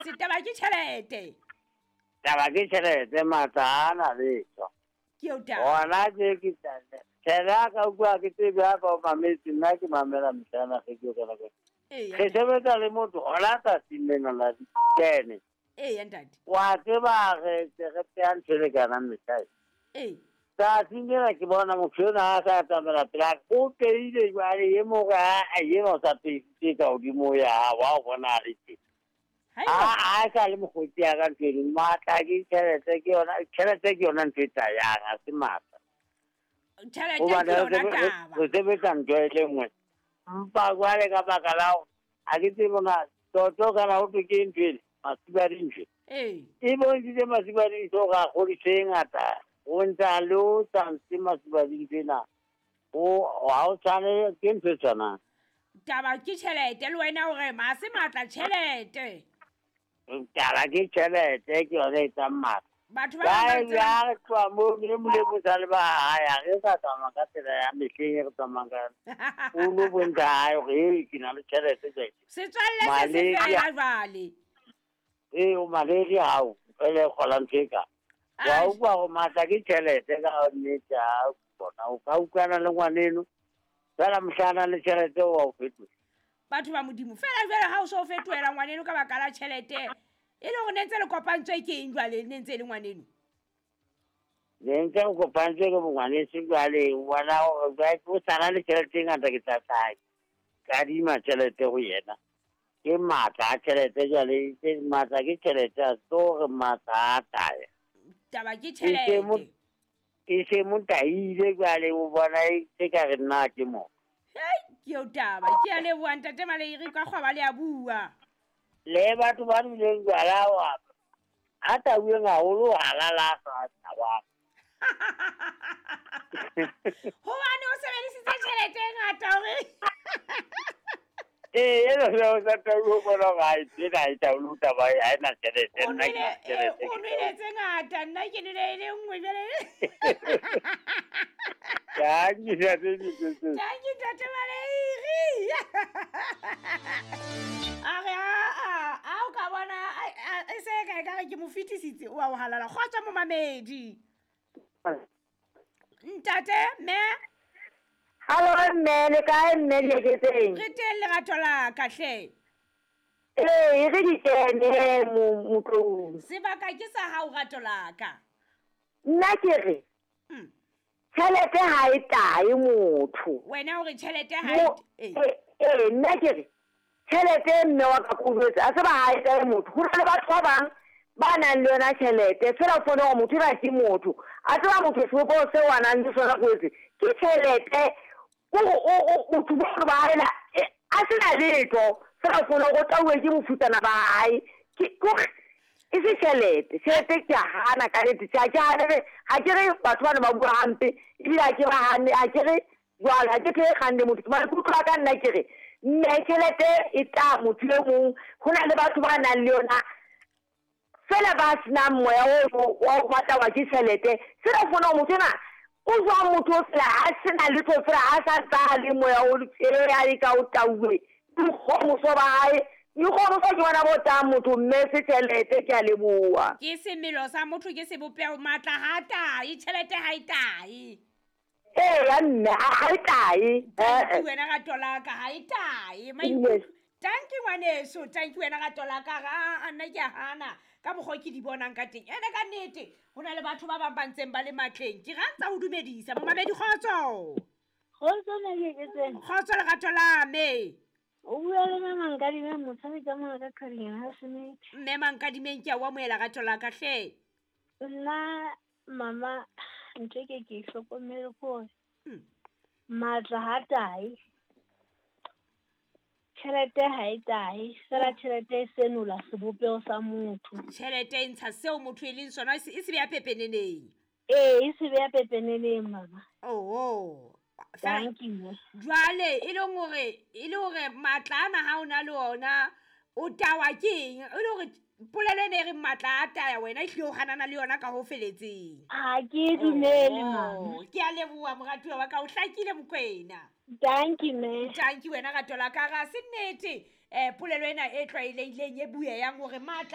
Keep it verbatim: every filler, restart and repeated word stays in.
Setaba ke tjhelete. Taba ke tjhelete matla a na letho. Ke eo taba. Ona ke ke tjhelete ya ka utlwa ke tsebe ya ka o mametse nna ke mamela mehla ge ke o ka. Ee. Re sebetsa le motho ona tsatsing lena la ditene. Ee ntate. Wa tseba re re pea ntho e lekanang mehla. Ee. Tsatsing lena ke bona motho enwa a sa tsamaela pela o peile jwale e mong a ena o sa peisitse ka hodimo ya wa o bona a le teng. A a sa le mokgotsi ya ka ntho eno matla ke tjhelete ke yona tjhelete ke yona ntho e tayang ha se matla. Tjhelete ke yona taba. Re sebetsa ntho e le nngwe. Mpa jwale ka baka la hore ha ke tsebe na toto kana ho thwe ke ntho ena masiba dintho. Ee. E bontshitse masiba dintho hore a kgodiso e ngata. O ntsa le o sa ntshe masiba dintho ena. O ha o tshwane ke ntho e tshwanang. Taba ke tjhelete le wena hore ma se matla tjhelete. Taba ke tjhelete ke yona e etsang matla. Batho ba bang ba ya re tloha moo le molemo sa le ba haya re sa tsamaya ka tsela ya mehleng e re tsamayang ka yona. O lo bontsha hae hore ee ke na le tjhelete jwale. Setswalle se se fela jwale. Ee o malaria hao fela e kgola ntho e ka. Wa utlwa hore matla ke tjhelete ka nnete ha bona o ka utlwana le ngwaneno fela mohla le tjhelete wa o fetola. Batho ba Modimo fela jwale ha o so fetohela ngwaneno ka baka la tjhelete e le hore ne ntse le kopantswe ke eng jwale ne ntse le ngwaneno? Ne ntse re kopantswe ke bongwaneso jwale o bona hore o sana le tjhelete e ngata ke tla tla kadima tjhelete ho yena. Ke matla a tjhelete jwale ke matla ke tjhelete a se hore matla a taya. Taba ke tjhelete. E se mo taile jwale o bona e se ka re nna ke mo. Hei ke eo taba ke a leboha ntate Maleiri ka kgwaba le a bua. Le batho ba nweleng jwala wa a tauweng haholo halala sa taba. Hobane o sebedisitse tjhelete e ngata hore. Ee ena fela o sa tauwe o bona hore ha e tsena ha e taule taba ha ena tjhelete nna ke tjhelete. O nwele tse ngata nna ke nwele e le nngwe jwale. Thank you, Thank you, ntate Maleiri. A re a a o ka bona e se ka ka re ke mo fetisitse o a o halala kgotsa momamedi. Ntate mme. Hallo mme le kae mme le ke teng? Re teng lerato la ka hle. Ee re di kene motlong. Sebaka ke sa hao rato la ka. Nna ke re. Tjhelete ha e tae motho. Wena o re tjhelete ha e eh nna ke re tjhelete mme wa ka kujwetsa a se ba ha e tae motho. Ho na le batho ba bang ba nang le yona tjhelete fela o fone hore motho ena ke motho. A tseba motho sebopeho seo a nang le sona kwetse ke tjhelete. Kore o motho bo ba hae a se na letho fela o fone hore o tauwe ke mofutsana ba hae. Ke kore e se tjhelete. Tjhelete ke a hana ka nnete. Ha ke hane ha ke re batho bana ba bua hampe ebile ha ke ba hane ha ke re jwale ha ke tlo e kganne motho. Maikutlo a ka nna ke re mme tjhelete e tla motho e mong. Ho na le batho ba nang le yona fela ba senang moya o wa ho batla wa ke tjhelete. Fela o fone hore motho ena o jwang motho o fela ha sena letho fela ha sa ntsa le moya o a le ka o tauwe. Boikgohomoso ba hae boikgohomoso ke bona bo tang motho mme se tjhelete ke a leboha. Ke semelo sa motho ke sebopeho matla ha tae tjhelete ha e tae. Ee ya mme ha e tae. Thank you wena rato la ka ha e tae. Thank you ngwaneso, thank you wena rato la ka a nna ke a hana ka mokgwa ke di bonang ka teng. Ene ka nnete ho na le batho ba bang ba ntseng ba le matleng. Ke rantsa ho dumedisa momamedi kgotso. Kgotso Makeketseng. Kgotso lerato la me. O bua le mme Mankadimeng motshabi ka mona ka Qhwading ha Smith. Mme Mankadimeng ke a o amohela rato la ka hle. Nna mama ntho ke ke hlokomele hore matla ha tae. Tjhelete ha e tae, fela tjhelete e senola sebopeho sa motho. Tjhelete e ntsha seo motho e leng sona e se beha pepeneneng. Ee, e se beha pepeneneng mama. Oh. Thank you. Jwale e leng hore e le hore matla ana ha o na le ona o tawa ke eng? E le hore polelo ena e reng matla a taya wena e hlile o hanana le yona ka ho feletseng. Ha ke dumele mama. Ke a leboha moratuwa wa ka o hlakile Mokwena. Thank you mme. Thank you wena rato la ka ga se nnete eh polelo ena e tlwaelehileng e bueyang hore matla